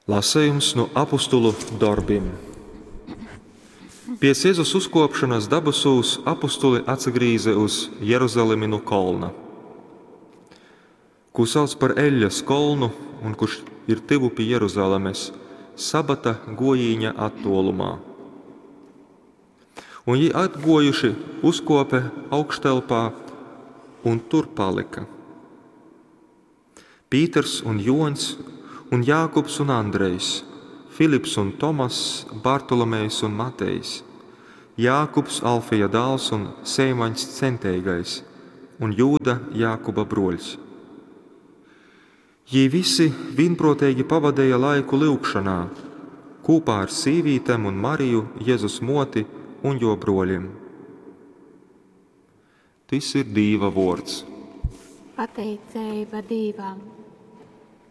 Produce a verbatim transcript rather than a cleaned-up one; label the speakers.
Speaker 1: Lasejums nu Apustulu dorbim. Piec Jezus uzkuopšonys dabasūs apustuli atsagrīze uz Jeruzalimi nu kolna, kū sauc par Eļļas kolnu un kurš ir tyvu pi Jeruzalemes, sabata guojīņa attuolumā. Un jī atguojuši uzkuope augštelpā un tur palyka. Pīters un Juoņs un Jākubs un Andrejs, Filips un Tomass, Bartolomejs un Matejs, Jākubs, Alfeja dāls un Seimaņs Centeigais un Jūda, Jākuba bruoļs. Jī visi vīnpruoteigi pavadeja laiku lyugšonā, kūpā ar sīvītem un Mariju, Jezus muoti un juo bruoļim. Tys ir Dīva vuords.
Speaker 2: Pateiceiba Dīvam.